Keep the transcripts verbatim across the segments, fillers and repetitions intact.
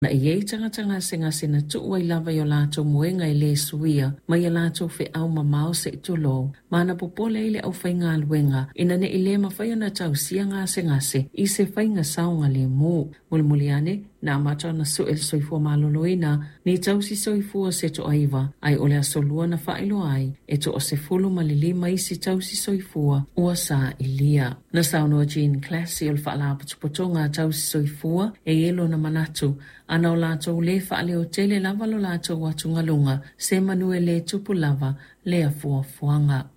Na e iai tagata gasegase na tuu ai lava i o latou moega e lē suia mai a latou feau mamao seʻi tulou, ma na popole ai le aufaigaluega ina neʻi lē mafai ona tausia gasegase i se faiga saogalēmū. Mulimuli ane, na amata ona sue le Soifua Maloloina ni tausi soifua se toaiva, ae o le aso lua na faailoa ai e toasefulu ma le lima isi tausi soifua ua sailia. Na saunoa Jean Classy o le Faalapotopotoga a Tausi Soifua e i ai lona manatu ana o latou lē faaleotele lava lo latou atugaluga se manu e lē tupu lava lea fuafuaga.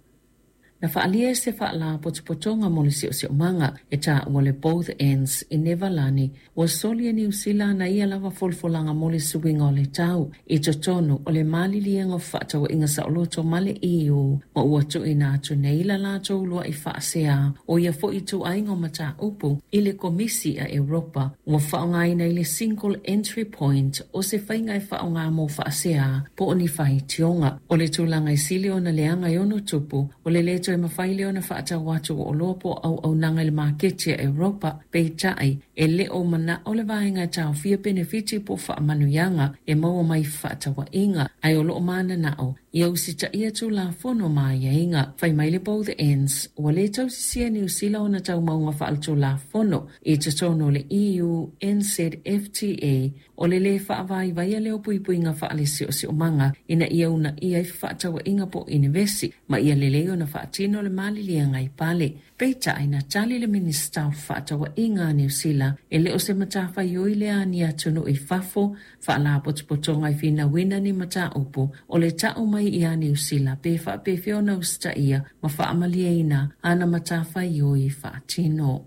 Na faaalia e se faalapotopotoga mo le siosiomaga e taua le Both Ends i Nevalani ua soli e Niu Sila ana ia lava folafolaga mo le suiga o le tau i totonu o le maliliega o fefaatauaiga saoloto ma le E U ma ua tuuina atu nei la latou uluai faasea o ia foi ituaiga o mataupu i le Komisi a Europa ua faaaogaina i le Single Entry Point o se faiga e faaaoga mo faasea po o ni faitioga. O le tulaga e sili ona leaga e ono tupu o le lē toe mafai lea ona faatau atu o oloa po o auaunaga i le maketi a Europa, peitai e le o manao le vaega e taofia penefiti po o faamanuiaga e maua mai fefaatauaiga, ae o loo mananao ia usitaia Tulafono ma aiaiga. Fai mai le Both Ends ua lē tausisia Niu Sila ona taumauga faaletulafono i totonu o le E U N Z F T A o le lē faavaivaia lea o puipuiga faalesiosiomaga ina ia uunaia ai fefaatauaiga po o inivesi ma ia lelei ona faatino le maliliega i pale. Peitai na tali le Minista o Fefaatauaiga a Niu Sila e le o se matafaioi lea a ni atunuu i fafo faalapotopotoga e finauina ni mataupu o le tau mai ia Niu Sila pe faapefea ona usitaia ma faamalieina ana matafaioi faatino.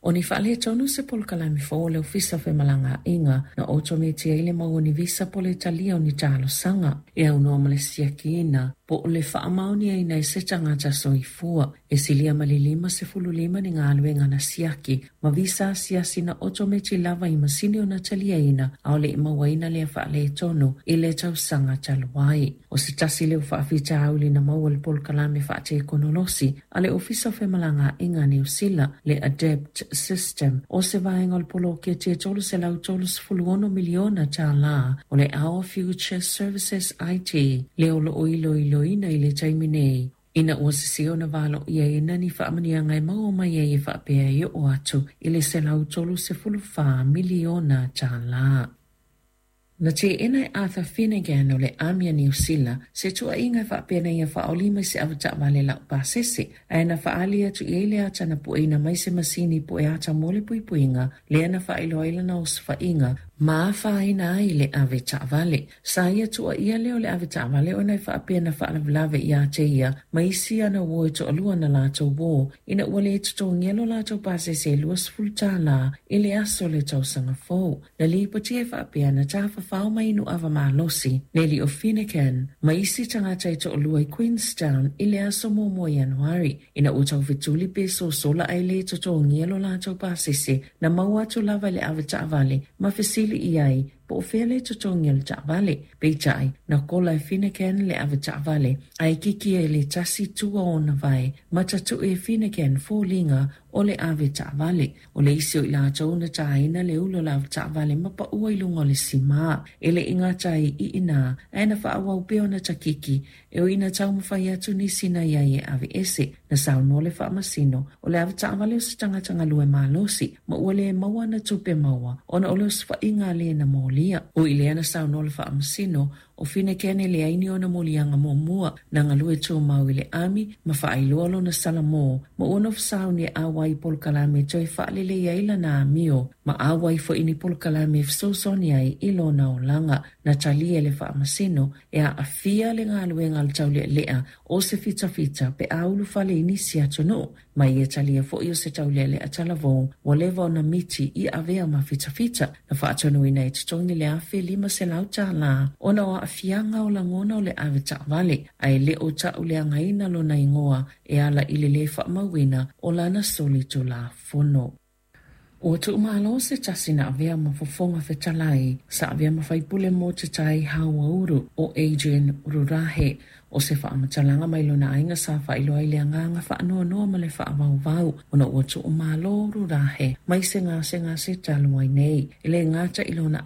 O ni faaletonu se polokalame fou o le Ofisa o Femalagaaiga na otometi ai le mau o ni visa po o le talia o ni talosaga e aunoa ma le siakiina po o le faamaoniaina e se tagata soifua. E silia ma le lima sefulu lima ni galuega na siaki ma visa asiasi na otometi lava i masini o na taliaina a o le i mauaina lea faaletonu i le tausaga talu ai. O se tasi leo faafitauli na maua le polokalame faatekonolosi a le Ofisa o Femalagaaiga a Niu Sila le Adapt System o se vaega o le poloketi e tolu selau tolu sefulu ono miliona tālā o le Our Future Services I T lea o loo iloiloina i le taimi nei ina ua sese ona valoiaina ni faamanuiaga e maua mai ai e faapea e oo atu i le selau tolu sefulu whā miliona tālā. Na teena e Arthur Finnegan o le Army a Niu Sila se tuuaiga e faapea na ia faaolima i se avetaavale laupasese ae na faaali atu i ai le ata na pueina mai se masini po e ata mo le puipuiga lea na faailoa ai lana osofaiga ma afaina ai le avetaavale. Sa ia tuuaia lea o le avetaavale ona e faapea na faalavelave ia te ia ma isi ana uo e toalua na latou uō ina ua lē totogia lo latou pasese e luasefulu tālā i le aso o le tausaga fou. Na lipotia e faapea na tafafao mai nuava malosi Nelly o Finnegan ma isi tagata e toalua i Queenstown i le aso muamua Ianuari ina ua taufetuli pe sosola ae lē totogia lo latou pasese na maua atu lava i le avetaavale ma fesili i ai po o fea le totogi o le taavale. Peitai na kola e Finnegan le avetaavale ae kiki e le tasi tua ona vae ma tatuʻe e Finnegan foliga o le avetaavale. O le isi o i latou na taina le ulu o le avetaavale ma paʻua i luga o le simā. E le i gata ai i inā ae na faaauau pea ona takiki e ui ina taumafai atu nisi na iai e aveese. Na saunoa le faamasino o le avetaavale o se tagata galue malosi ma ua lē maua ana tupe maua ona o le osofaiga a lē na molia. O i lea na saunoa le faamasino o Finnegan e leai ni ona moliaga muamua na galue tumau i le ami ma faailoa lona salamō ma ua nofo sauni e auai i polokalame toe faalelei ai lana amio ma auai foi ni polokalame e fesoasoani ai i lona olaga. Na talia e le faamasino e aafia le galuega a le taulealea o se fitafita pe a ulufale i nisi atunuu ma ia talia foi o se taulealea talavou ua leva ona miti i avea ma fitafita. Na faatonuina e totogi le afe lima selau tālā ona o aafiaga o lagona o le avetaavale ae le o tauleagaina lona igoa e ala i le lē faamauina o lana soli tulafono. Ua tuumalo se tasi na avea ma fofoga fetalai sa avea ma faipule mo te tai hauauru o Adrian Rurahe o se faamatalaga mai lona aiga sa faailoa ai le agaga faanoanoa ma le faavauvau ona ua tuumalo Rurahe mai se gasegase talu ai nei. E lē gata i lona